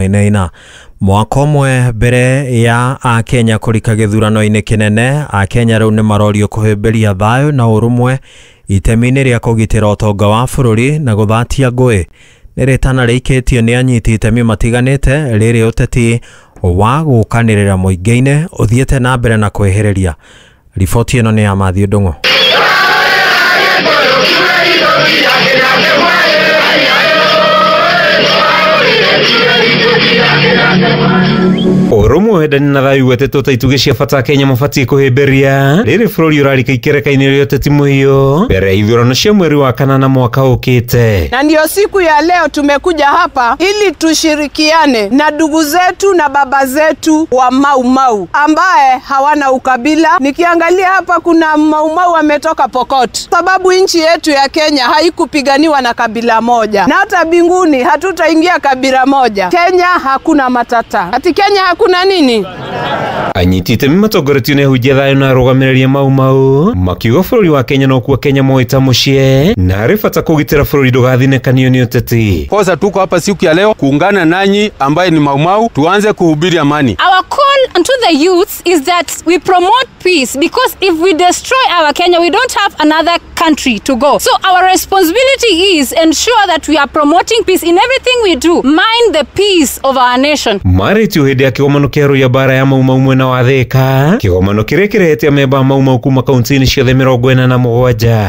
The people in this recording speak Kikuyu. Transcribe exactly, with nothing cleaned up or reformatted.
Inaina mwaka ũmwe mbere ya akenya kũrika gĩthurano-inĩ kĩnene, akenya rĩu nĩ marorio kũhĩmbĩria thayũ na ũrũmwe itemi-inĩ rĩa kũgitĩra ũtonga wa bũrũri na gũthatia ngũĩ. Nĩ rĩtana rĩikĩtio nĩ anyiti itemi matiganĩte rĩrĩ ũteti wa gũkanĩrĩra mũingĩ-inĩ ũthiĩte na mbere na kwĩhĩrĩria. Riboti ĩno nĩ ya Matthew Ndung'u. Ũrũmwe, wendani na thayũ igwetetwo ta itugĩ cia bata Kenya mabatiĩ kũhĩmbĩria rĩrĩ bũrũri ũrarika ikereka-inĩ rĩa ũteti mũhiũ mbere ya ithurano cia mweri wa kanana mwaka ũkĩte. Na ndio siku ya leo tumekuja hapa ili tushirikiane na ndugu zetu na baba zetu wa Mau Mau ambaye hawana ukabila. Nikiangalia hapa kuna Mau Mau ametoka Pokot, sababu nchi yetu ya Kenya haikupiganiwa na kabila moja, na hata binguni hatutaingia kabila moja. Kenya hakuna matata. Ati Kenya hakuna nini? Anyiti itemi matongoretio nĩ ahunjia thayũ na arũgamĩrĩri a Mau Mau makiuga bũrũri wa Kenya nokuo Kenya moĩ ta mũciĩ na harĩ bata kũgitĩra bũrũri ndũgathinĩkanio nĩ ũteti. Kosa tuko hapa siku ya leo kuungana nanyi ambaye ni Mau Mau, tuanze kuhubiri amani. Our call unto the youths is that we promote peace, because if we destroy our Kenya, we don't have another country to go. So our responsibility is ensure that we are promoting peace in everything we do. Mind the peace of our nation. Marĩtio hĩndĩ ya kĩgomano kĩa arũi a mbara ya Mau Mau mwena wa Thĩka, kĩgomano kĩrĩa kĩrehete amemba a Mau Mau kuma kaunti-inĩ ciothe mĩrongo ĩna na mũgwanja.